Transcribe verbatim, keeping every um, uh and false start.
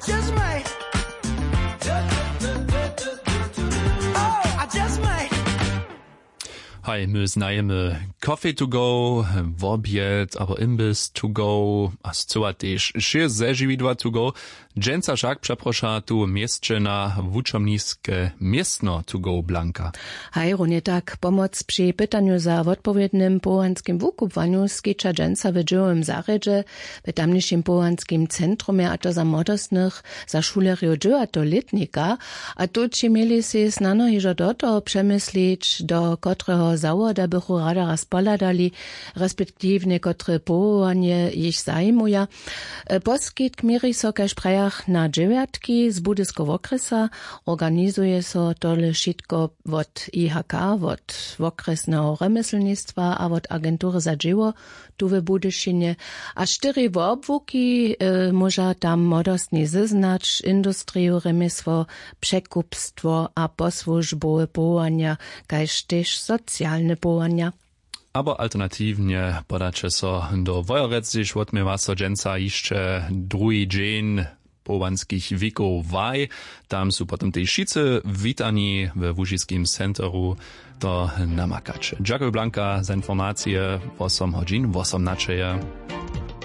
Just might. Oh, I just might. Haj, my znajemy Coffee to go, wobjed abo imbys to go a scyła tež šěst zežiwidła to go. Dźensa wšak přeproša tu w měsće na wučomniske městno to go Blanka. Haj, runje tak pomoc při pytanju za wotpowědnym powołanskim wukubłanju skića dźensa w dźěłowym zarjedźe, w tamnišim powołanskim centrumje, a to za młodostnych, za šulerjow dźewjateho lětnika. A tući měli sej snano hižo do toho přemyslić, do kotreho zawoda bychu rada raz pohladali, respektiwnje kotre powołanje jich zajimuja. Poskitk měri so, kaž prajach, na dźewjatki z budyskeho wokrjesa. Organizuje so tole wšitko wot I H K, wot wokrjesneho rjemjeslnistwa a wot agentury za dźěło tu w Budyšinje. A štyri wobłuki móža tam młodostni zeznać: industriju, rjemjesło, překupstwo a posłužbowe powołanja, kaž tež socialne powołanja. Abo alternatiwnje podaće so do Wojerec, hdźež wotměwa so dźensa hišće druhi dźeń powołanskich wikow waj. Tam su potom tež wšitcy witani we łužiskim centru. To namakaće. Dźakuj, Blanka, za informacije. Wosom hodźin wosomnaćeje.